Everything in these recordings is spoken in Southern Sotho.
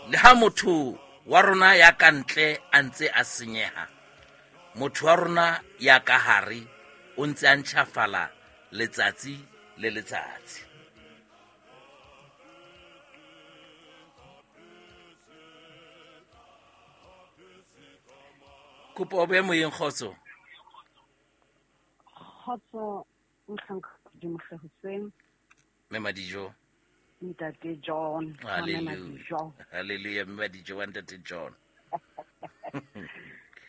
Le ha motho wa rona ya ka ntle a ntse a senyeha, motho wa rona ya ka hare o ntse a ntjhafala letsatsi le letsatsi. Kopo o be moyeng, kgotso. Kgotso, mohlanka Modimo hle hoseng. Mme Madijo. Ntate John. Hallelujah. Hallelujah, Mme Madijo wa Ntate John.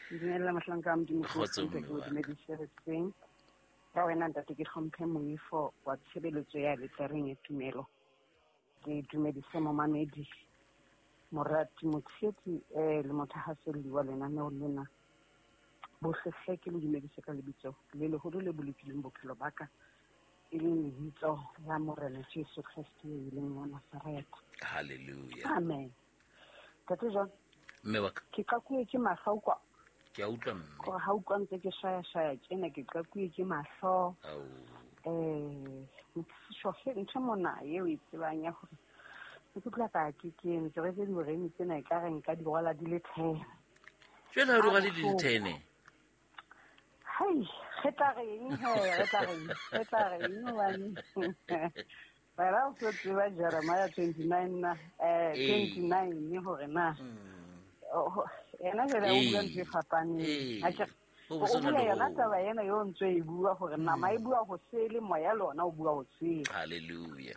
Dumela mohlanka Modimo. Kgotso, mme wa ka. Dumedise hoseng. Ka wena ntate ke hlomphe moifo wa tshebeletso ya letareng ya tumelo. Ke dumedise momamedi, morati, motshehetsi, le mothahaselli wa lenaneo lena. Bohle hle ke le dumedise ka lebitso le leholo le bolokileng bophelo ba ka, e leng lebitso la Morena Jesu Kreste e leng wa Nazaretha. Hallelujah. Amen. Ntate John, Mme wa ka. Ke qakuwe ke mahlo kwa. Ke a utlwa mme. Gore ha utlwa ntse ke shaya-shaya tjena, ke qakuwe ke mahlo. Ao. Ntho ntho mona eo e tsebang ya hore ke utlwa ka ke ke ntse re tse dioreng tsena e ka re nka di rwala di le 10. Jwale ha o di rwale di le 10? Hai, re tla reng he, re tla reng, re tla reng hobane. Wena o so tseba Jeremiah 29 na, 29 hore na. Yena jwale o bua ntho e fapaneng. Ha ke re, Ho o bo sona bua le yona ho. taba ena eo ntse e bua hore nama e bua ho sele, moya le ona o bua ho sele. Hallelujah.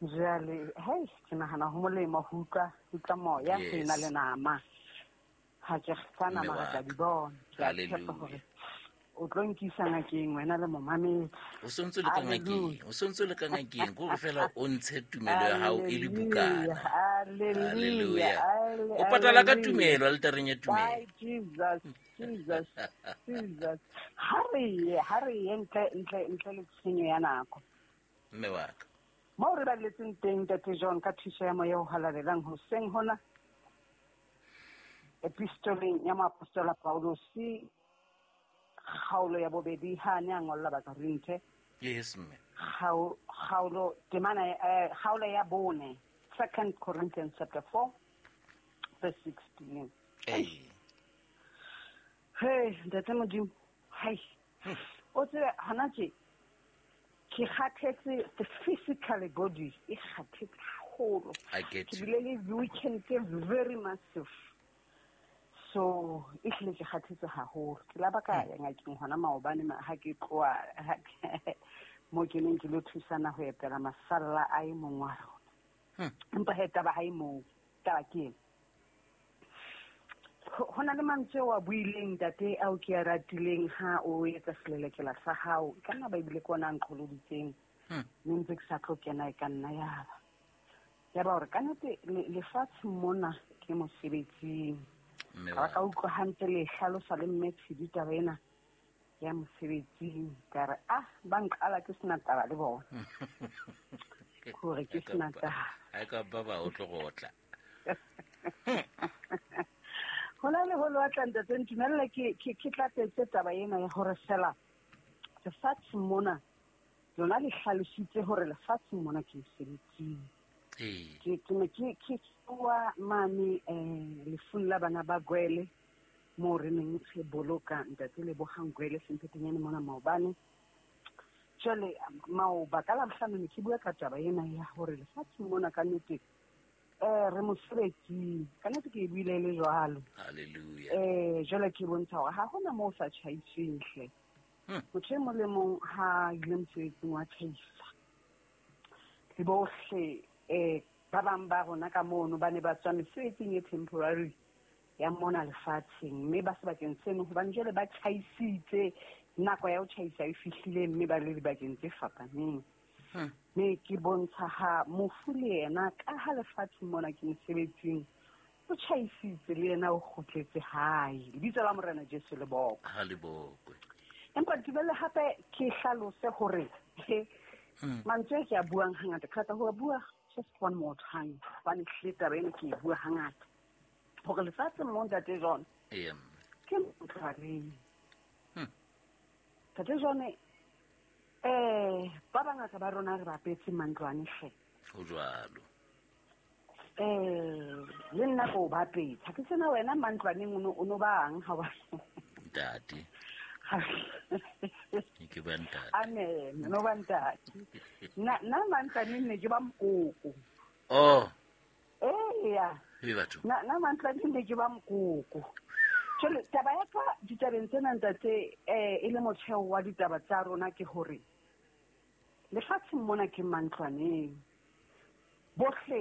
Jwale, hei, ke nahana ho molemo ho utlwa moya ho ena le nama. Ha ke re, tsa Mme nama re wa tla ka. di bona. Ke a tshepa Hallelujah. hore o tlo nkisa ngakeng wena le momamedi. O sontso le ka ngakeng, o sontso le ka ngakeng, ke hore fela o ntshe tumelo ya hao e le bukana. Hallelujah. Hallelujah. Hallelujah. O patala ka tumelo altareng ya tumelo. Bye, Jesus, Jesus, Jesus. Ha re ye, ha re ye ntle, ntle, ntle le tshenyo ya nako. Mme wa ka. Moo re baletseng teng, Ntate John, ka thuso ya moya o halalelang hoseng hona, epistoleng ya moapostola Paulus, kgaolo ya bobedi ha a ne a ngolla Bakorinthe. Yes, mme. Kgaolo, temana, kgaolo ya bone, 2 Corinthians chapter 4, verse 16. Ee. Hey, Ntate Modimo, hai. O tsebe hona tje, ke kgathetse, the physical body e kgathetse haholo. I get Ke you. bile le weekend e very massive. So, e hlile ke kgathetse haholo. Ke la ba ka ya ngakeng hona maobane ha ke tloha, ha ke, mo ke neng ke lo thusana ho etela masalla a e mong wa rona. Empa he taba ha e moo, taba ke ena. Ho na le mantswe ao a buileng ntate ao ke a ratileng ha o etsa selelekela sa hao. E ka nna ba ebile ke ona a nqholoditseng. Mme ntse ke sa tlo kena e ka nna ya ba. Ya ba hore ka nnete lefatshe mona ke mosebetsing. Mme Ka wa ka utlwa hantle le hlalosa le mme Tshidi taba ena ya mosebetsing. Ka re, ba nqala ke sena taba le bona. Hore ke sena taba. Ha e ka ba ba o tlo go otla. Hona le ho lwatla ntate, ntumelle ke tlatsetse taba ena ya hore fela lefatshe mona lona le hlalositse hore lefatshe mona ke mosebetsing. Ke ne ke tsoa mane, lefung la bana ba Gwele, moo re neng re boloka ntate Lebohang Gwele Semphetenyane mona maobane. Jwale, maoba ka Labohlano ne ke bua ka taba ena ya hore lefatshe mona ka nnete, re mosebetsing. Ka nnete ke e buile le jwalo. Hallelujah. Jwale ke bontsha hore ha hona moo o sa tjhaisweng hle. Motho e mong le mong ha ile mosebetsing wa tjhaisa. Le bohle, ba bang ba rona ka mono ba ne ba tswa mesebetsing e temporary ya mona lefatsheng, mme ba sebakeng seno hobane jwale ba tjhaisitse, nako ya ho tjhaisa e fihlile, mme ba le dibakeng tse fapaneng. Mme ke bontsha ha mofu le yena ka ha lefatshe mona ke mosebetsing, o tjhaisitse le yena o kgutletse hae. Lebitso la Morena Jesu le bokwe. Ha le bokwe. Empa ntumelle hape ke hlalose hore, he, mantswe a ke a buang hangata, ke rata ho a bua just one more time, hobane hlile taba ena ke e bua hangata. Hore lefatshe mo Ntate John, ke ntlwaneng. Ntate John, ba bangata ba rona re bapetse mantlwane hle. Ho jwalo. Le nna ko bapetsa. Ke tsena wena mantlwaneng o no bang ha wa. Ntate. Ke ba ntate. Amen, no ba ntate. Na mantlwaneng ne ke ba mokoko. Oh. Eya. E batho. Na mantlwaneng ne ke ba mokoko. Tjhe, taba ya ka ditabeng tsena ntate e le motheo wa ditaba tsa rona ke hore lefatsheng mona ke mantlwaneng. Bohle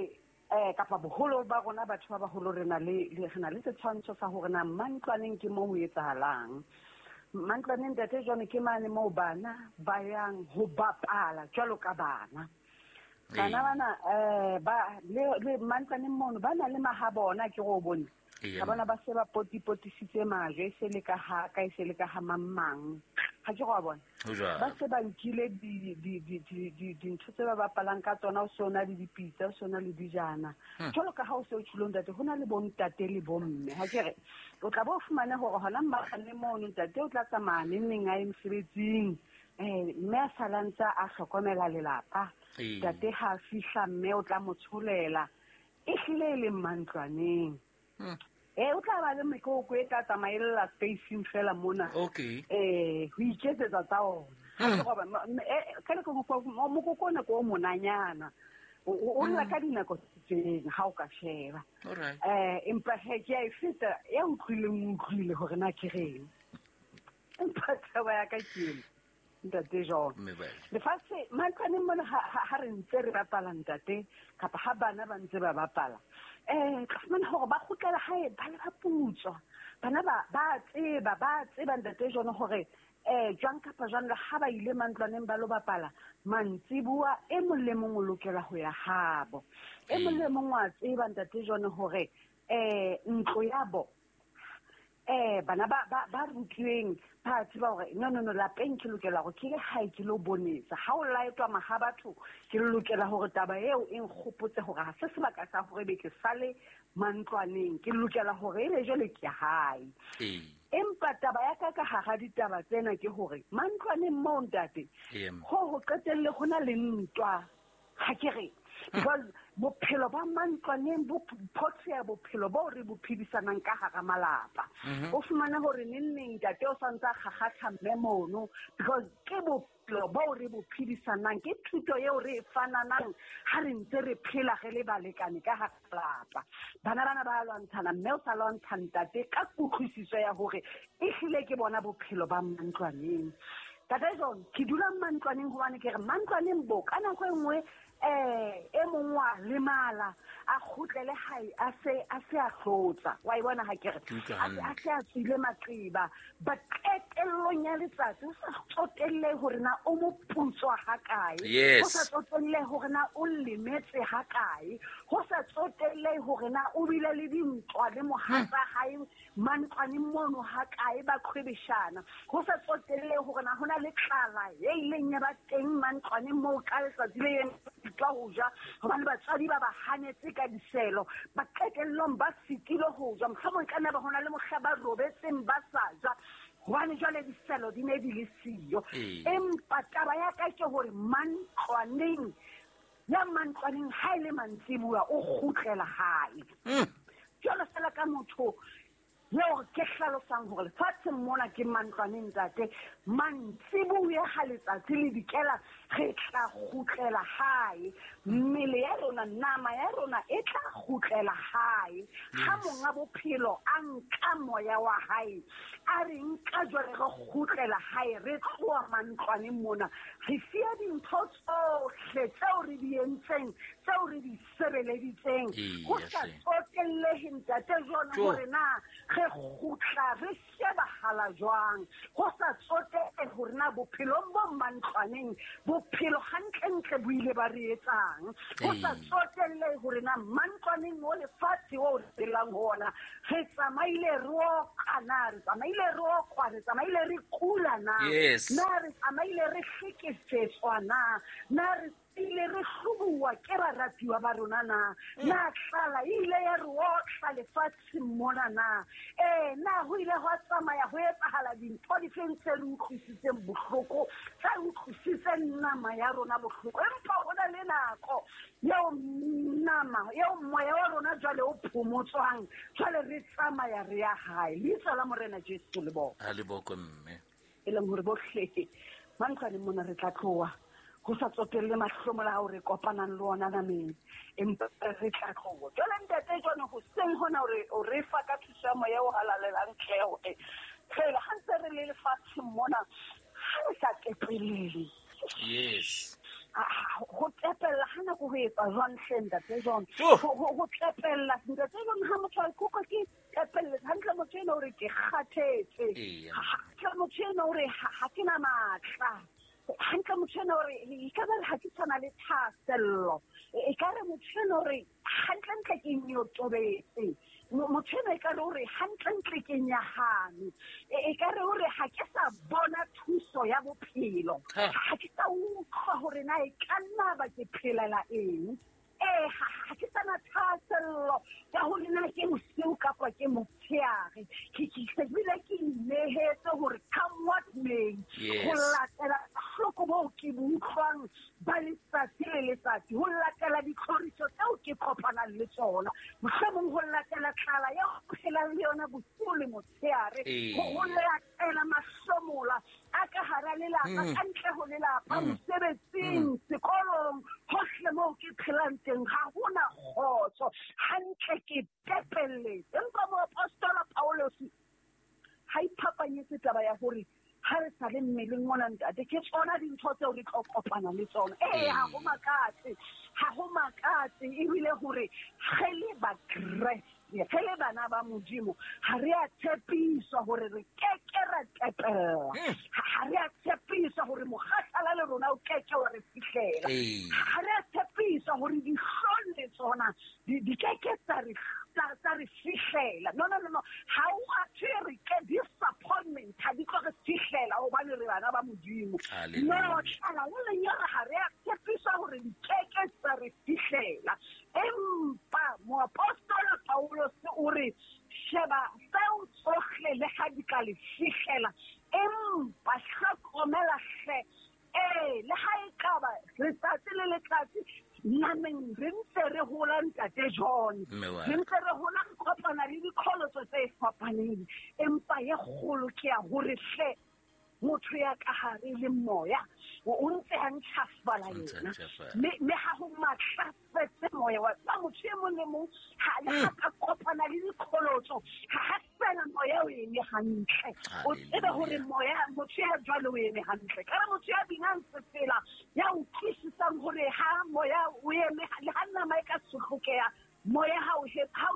kapa boholo ba rona batho ba baholo re na le setshwantsho sa hore na mantlwaneng ke moo ho etsahalang. Mantlwaneng ntate jwale ke mane moo bana ba yang ho bapala jwalo ka bana. Bana bana ba le mantlwaneng mono ba na le mahabona ke go bone. Ka bona ba se ba potipotisitse majwe se le ka ha ka se le ka ha mang. Ha ke go bona. Ba se ba nkile dintho tse ba bapalang ka tsona o sona le dipitsa o sona le dijana. Jwalo ka ha o se o tshilo ntate ho na le bontate le bomme. Ha ke re o tla bo fumane hore hona mmatlane mono ntate o tla tsamaya neng a ye mosebetsing. Mme a salantsa a hlokomela lelapa. Ntate ha fihla mme o tla mo tsholela. E hlile e le mantlwaneng. O tla ba le mekoko e tla tsamaella spacing fela mona. Okay. Ho iketsetsa tsa ona. Ka le go mokoko ona ko monanyana. O lla ka dinako tseng ha o ka sheba. All right. Empa he ke a e feta ya utlwile hore na ke reng. Empa taba ya ka ke ntate John. Lefatshe mantlwaneng mona ha re ntse re bapala ntate kapa ha bana ba ntse ba bapala. Ka fumana hore ba kgutlela hae ba le ba putswa. Bana ba tseba ntate John hore jwang kapa jwang le ha ba ile mantlwaneng ba lo bapala mantsibuwa e mong le mong o lokela ho ya habo. E mong le mong wa tseba ntate John hore ntlo ya bo bana ba rutlweng ba tseba hore no lapeng ke lokela hore ke le hae ke lo bonetsa. Ha o laetwa maha batho ke lokela hore taba eo e nkgopotse hore ha se sebaka sa hore be ke sale mantlwaneng, ke lokela hore ebe jwale ke hae. Empa taba ya ka hara ditaba tsena ke hore mantlwaneng moo ntate ho qetelle ho na le ntwa. Ha ke re because bophelo ba mantlwaneng bo photshea bophelo bo re bo phedisanang ka hara malapa. O fumana hore neng ntate o santsa kgakgatha mme mono because ke bophelo bo re bo phedisanang, ke thuto eo re e fananang ha re ntse re phela re le balekane ka hara malapa. Bana ba lwantshana mme o sa lwantsha ntate ka kutlwisiso ya hore e hlile ke bona bophelo ba mantlwaneng. Ntate John, ke dula mantlwaneng hobane ke re mantlwaneng bo ka nako e nngwe e mong wa lemala a kgutlele hae a se a hlotsa. Wa e bona ha ke re a se a tswile maqeba. But qetellong ya letsatsi o sa tsotelle hore na o mo putswa ha kae, o sa tsotelle hore na o lemetse ha kae, ho sa tsotelle hore na o bile le dintwa le mohatsa hae mantlwaneng mono ha kae ba qhwebeshana, ho sa tsotelle hore na hona le tlala e ileng ya ba teng mantlwaneng moo ka letsatsi le ka ho ja hobane batswadi ba ba hanetse ka diselo, ba qetellong ba sitile ho ja, mohlomong ka nna ba hona le mohla ba robetseng ba sa ja hobane jwale diselo di ne di le siyo. Empa taba ya ka ke hore mantlwaneng ya mantlwaneng ha e le mantsibuya o kgutlela hae. Jwalo fela ka motho eo ke hlalosang hore lefatsheng mona ke mantlwaneng ntate, mantsibuya ha letsatsi le dikela re tla kgutlela hae. Mmele ya rona, nama ya rona e tla kgutlela hae. Ha monga bophelo a nka moya wa hae, a re nka jwale re kgutlela hae, re tloha mantlwaneng mona, re siya dintho tsohle tseo re di entseng, tseo re di sebeleditseng. Ho sa tsotellehe ntate John hore na re kgutla re shebahala jwang, ho sa tsotelle hore na bophelong bo mantlwaneng bophelo hantlentle bo ile ba re etsang, ho sa tsotelle hore na mantlwaneng o lefatshe o re phelang ho ona re tsamaile re oka na, re tsamaile re okwa, re tsamaile re kula na, na re tsamaile re hlekefetswa na, na re Ile re hlobuwa ke baratuwa ba rona na? Na tlala ile ya re otla lefatsheng mona na? Na ho ile hwa tsamaya ho etsahala dintho difeng tse re utlwisitseng bohloko, tse utlwisitseng nama ya rona bohloko? Empa ho na le nako eo nama, eo moya wa rona jwale o phomotswang, jwale re tsamaya re ya hae. Leitso la Morena Jesu le bokwe. Ha le bokwe, mme. E leng hore bohle mantlwaneng mona re tla tloha, ho sa tsotelle mahlomola ao re kopanang le ona nameng, empa re tla tloha. Jwale ntate jwale hoseng hona o re fa ka thuso ya moya o halalelang tle hore fela ha ntse re le lefatsheng mona, ha re sa tepelele. Yes. Ho tepella ha nako ho etsa jwang hle ntate John? Ho tepella ntate John, ha motho a ikutlwa ke tepelletse hantle, motho ena o re ke kgathetse. Hantle motho ena o re ha ke na matla. Hantle motho ena o re e ka ba re ha ke tshwana le thahasello. E ka re motho ena o re hantlentle ke nyotobetse. Motho ena e ka re o re hantlentle ke nyahame. E ka re o re ha ke sa bona thuso ya bophelo. Ha ke sa utlwa hore na e ka nna ba ke phelela eng. Ha ke sana thahasello ya hore na ke bosiu kapa ke motshehare. Ke se bile ke inehetse hore come what may. Ho latela bohloko boo ke bo utlwang ba letsatsi le letsatsi, ho latela ditlhoriso tseo ke kopanang le tsona, mohlomong ho latela tlala eo ke phelang le yona bosiu le motshehare, ho latela mahlomola a ka hara lelapa, ka ntle ho lelapa, mosebetsing, sekolong, hohle moo ke phelang teng, ha hona kgotso. Hantle ke tepelletse. Empa moapostola Paulus ha iphapanyetse taba ya hore ha re sa le mmeleng mona ntate, ke tsona dintho tseo re tlo kopana le tsona. Ha ho makatse, ha ho makatse ebile hore re le Bakreste, re le bana ba Modimo, ha re a tshepiswa hore re keke ra tepella. Ha re a tshepiswa hore mokgathala le rona o keke wa re fihlela. Ha re a tshepiswa hore dihlong le tsona di keke tsa re fihlela. No. Ha o a thwe re ke disappointment ha di tlo re fihlela hobane re bana ba Modimo. No, tlala le lenyora ha re a tshepiswa hore di keke tsa re fihlela. Empa moapostola Paulus o re sheba tseo tsohle le ha di ka le fihlela, empa hlokomela hle. Le ha e ka ba letsatsi le letsatsi nameng re ntse re hola ntate John. Re ntse re hola re kopana le diqholotso tse fapaneng, empa ye kgolo ke ya hore hle motho ya ka hare le moya o ntse a ntjhafala yena, mme ha ho matlafetse moya wa ba motho e mong le mong ha le ha ka kopana le diqholotso, ha fela moya o eme hantle. O tsebe hore moya motho ya jwalo o eme hantle. Ka re motho ya binang sefela ya utlwisisang hore ha moya o eme le ha nama e ka sohlokeha, moya ha o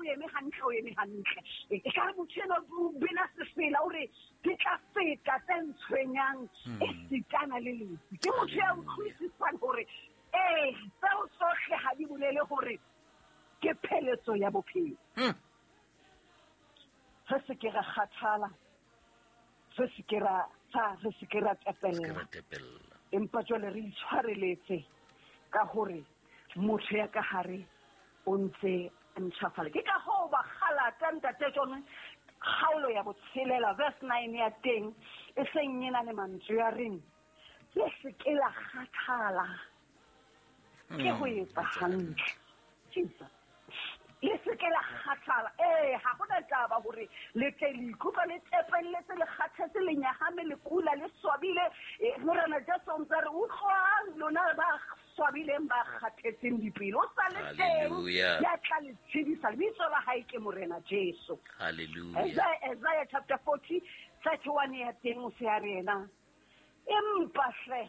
eme hantle, o eme hantle. E ka re motho ena o bina sefela o re ke tla feta tse ntshwenyang e sitana le lefu. Ke motho ya utlwisisang hore tseo tsohle ha di bolele hore ke pheletso ya bophelo. Re se ke ra kgathala, re se ke ra tepella. Empa jwale re itshwareletse ka hore motho ya ka hare o ntse a ntjhafala. Ke ka hoo ba Galata ntate John, kgaolo ya 6 verse 9 ya teng e seng e na le mantswe a reng le se ke la kgathala ke ho etsa hantle. Jesus. Le se ke la kgathala. Ha hona taba hore le tle le ikutlwa le tepelletse, le kgathetse, le nyahame, le kula, le swabile. Morena Jesu o ntse a re utlwang lona ba swabileng, ba kgathetseng dipelo. O sa le teng ya tla le tshedisa. Lebitso la hae ke Morena Jesu. Hallelujah. Isaiah chapter 40 31 ya teng o se a re yena, empa hle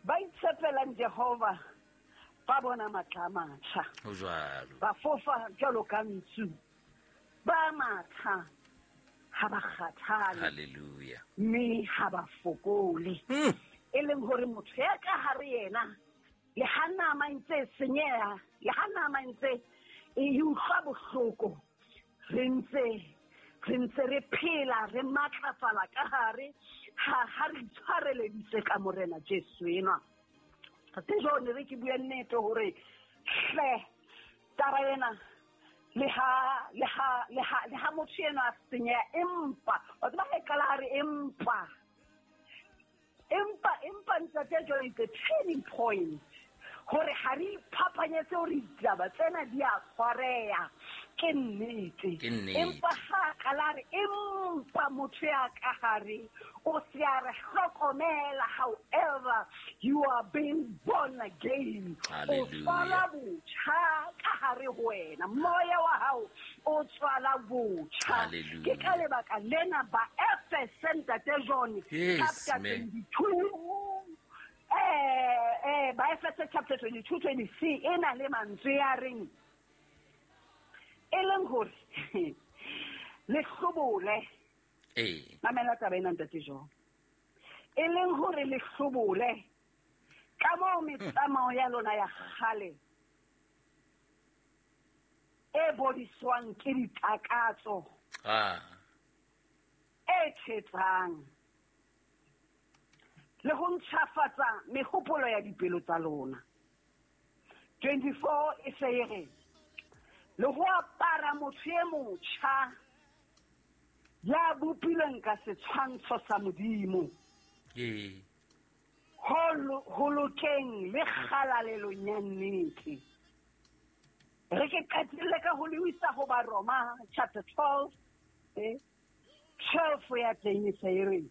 ba itshepelang Jehova ba bona matla a matjha. Ho jwalo. Ba fofa jwalo ka ntsu. Ba matha ha ba kgathale. Hallelujah. Mme ha ba fokole. E leng hore motho ya ka hare yena, le ha nama ntse senyeha, le ha nama ntse e utlwa bohloko, re ntse re phela, re matlafala ka hare, ha re itshwareleditse ka Morena Jesu enwa. Tate John re ke bue nnete hore hle taba ena le ha motho ena a senyeha, empa wa tseba ha e qala a re empa ntate John is the turning point hore ha re iphapanyetse hore ditaba tsena di a tshwareha, ke nnete. Empa ha qala re empa motho ya ka hare o se a re hlokomela, however you are being born again, o tswala botjha ka hare ho wena, moya wa hao o tswala botjha. Ke ka lebaka lena ba Efese ntate John chapter 22 ba Efese chapter 22 23 e na le mantswe a reng e leng hore le hlobole. Mamela taba ena ntate John, e leng hore le hlobole ka moo metsamao ya lona ya kgale e bodiswang ke ditakatso e thetsang le ho ntjhafatsa mehopolo ya dipelo tsa lona. 24 e se e re le ho apara motho e motjha ya bopilweng ka setshwantsho sa Modimo, ho lokeng le kgalalelong ya nnete. Re ke qetelle ka ho lebisa ho Baroma chapter 12 12 ya teng e se e re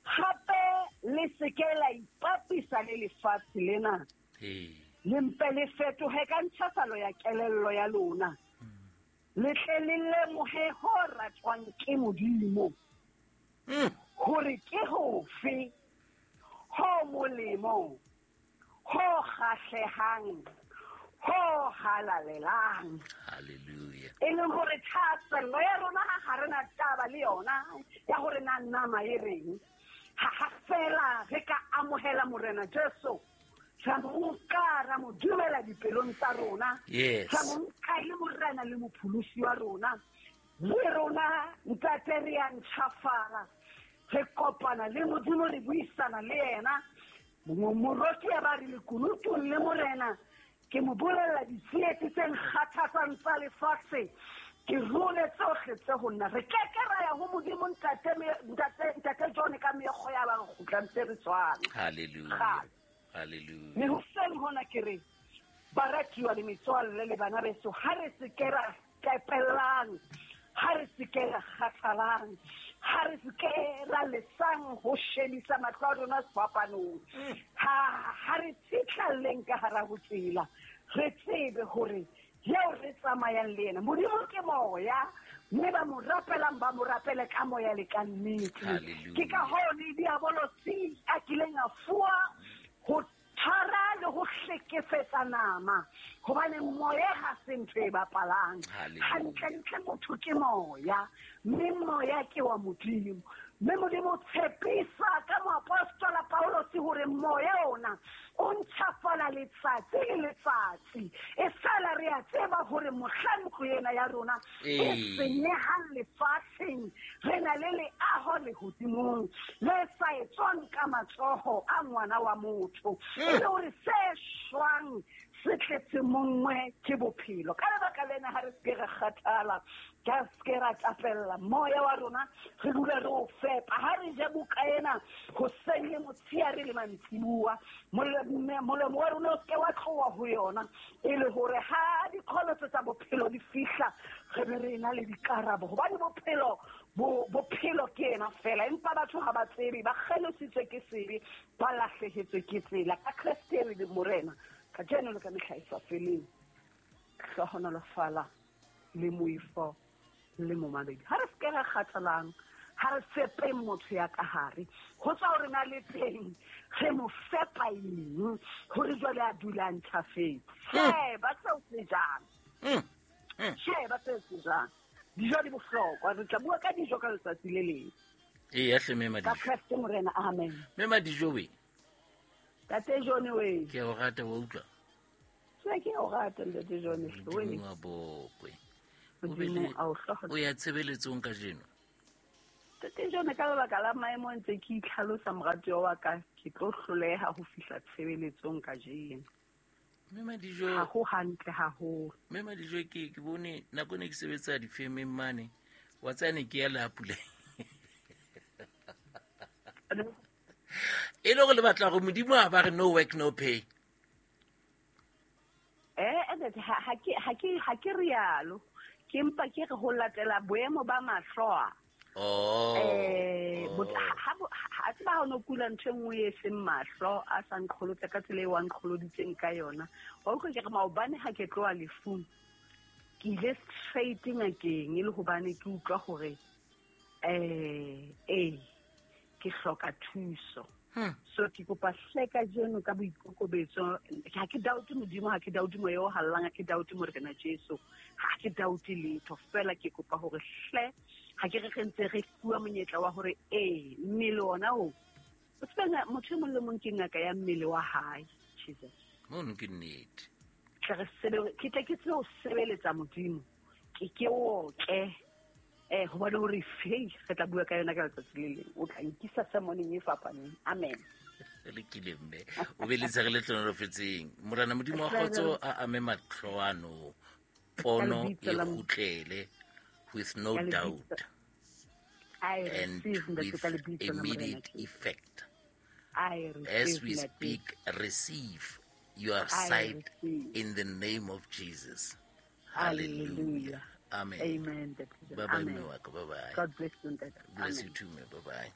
hape le se ke la ipapisa le lefatshe lena, le mpe le fetohe ka ntjhafalo ya kelello ya lona, le tle le lemohe ho ratwang ke Modimo, hore ke hofe ho molemo, ho kgahlehang, ho halalelang. Hallelujah. E leng hore thahasello ya rona ha re na taba le yona ya hore na nama e reng, ha fela re ka amohela Morena Jesu, ra mo nka ra mo dumela dipelong tsa rona, ra mo nka e le Morena le mopholosi wa rona, le rona ntate re a ntjhafala, re kopana le Modimo, re buisana le yena. Moroki ya ba re lekunutung le Morena, ke mo bolella ditsietsi tse nkgathatsang tsa lefatshe, ke role tsohle tse ho nna. Re keke ra ya ho Modimo ntate John ka meokgo ya ba re kgutlang tse re tshwana. Hallelujah. Hallelujah. Mme hoseng hona ke re baratuwa le metswalle le bana beso, ha re se ke ra tepellang, ha re se ke ra kgathalang, ha re se ke ra lesang ho shebisa mahlo a rona sefapanong, ha re tsitlalleng ka hara ho tsela, re tsebe hore eo re tsamayang le yena Modimo ke moya, mme ba mo rapelang ba mo rapele ka moya le ka nnete. Ke ka hoo le diabolosi a kileng a fuwa ho tshwara le ho hlekefetsa nama, hobane moya ha se ntho e bapalang. Hantlentle motho ke moya, mme moya ke wa Modimo. Mme Modimo o tshepisa ka moapostola Paulosi hore moya ona o ntjhafala letsatsi le letsatsi. E fela re a tseba hore mohla ntlo ena ya rona e senyehang lefatsheng, re na le leaho lehodimong le sa etswang ka matsoho a ngwana wa motho, e le hore se shwang se tletse mongwe ke bophelo. Ka lebaka lena ha re se ke re kgathala, ka se ke ra tapella moya wa rona, re dule re o fepa. Ha re je buka ena hoseng le motshehare le mantsibuwa, molomo wa rona o se ke wa tloha ho yona, e le hore ha diqholotso tsa bophelo di fihla, re be re na le dikarabo. Hobane bophelo ke ena fela, empa batho ha ba tsebe, ba kgelositswe ke sebe, ba lahlehetswe ke tsela. Ka Kreste re le Morena kajeno le ka mehla e sa feleng, hlohonolofala le moifo le momamedi. Ha re se ke ra kgathalang, ha re fepeng motho ya ka hare, ho tswa hore na le teng re mo fepa eng hore jwale a dule a ntjhafetse. Sheba seo se jang, sheba seo se jang. Dijo di bohlokwa, re tla bua ka dijo ka letsatsi le leng. Eya hle, mme Ka Kreste Morena, amen. Mme Madijo we. Tate John we. Ke o rata wa utlwa. Ke o rata ntate John we. Modimo a bokwe. O ya tshebeletsong kajeno? Ntate John, ka lebaka la maemo ntse ke itlhalosa moratuwa wa ka, ke tlo hloleha ho fihla tshebeletsong kajeno. Mme Madijo, Ha ho hantle haholo. Mme Madijo, ke bone nako ne ke sebetsa difemeng mane, wa tsaya ne ke ya le ha pula. E le gore le batla gore Modimo a ba re no work no pay. Ha ke rialo. Ke mpa ke re ho latela boemo ba mahlo a. Oh. Ha tseba ha o no kula ntho e nngwe e seng mahlo a sa nqholotsa ka tsela e wa nqholoditseng ka yona. Wa utlwa ke re maobane ha ke tloha lefung, ke ile straight ngakeng e le hobane ke utlwa hore ke hloka thuso. So ke kopa hle kajeno ka boikokobetso, ha ke doubte Modimo, ha ke doubte moya o hallang, ha ke doubte Morena Jesu, ha ke doubte letho. Fela ke kopa hore hle ha ke re re ntse re fuwa monyetla wa hore mmele ona o tseba motho e mong le mong ke ngaka ya mmele wa hae. Jesus. Mono ke nnete. Ke tle ke tsebe ho sebeletsa Modimo, ke otle. Hobane hore fei re tla bua ka yona ka letsatsi le leng. O tla nkisa sermoneng e fapaneng. Amen. Le kile mme o be le tshere le tlonolofetseng. Morena Modimo wa kgotso a ame matlho ano, pono e kgutlele with no doubt and with immediate effect. As we speak, receive your sight in the name of Jesus. Hallelujah. Amen. Amen. Bye bye. Bye bye. God bless you. Bless you too, bye bye.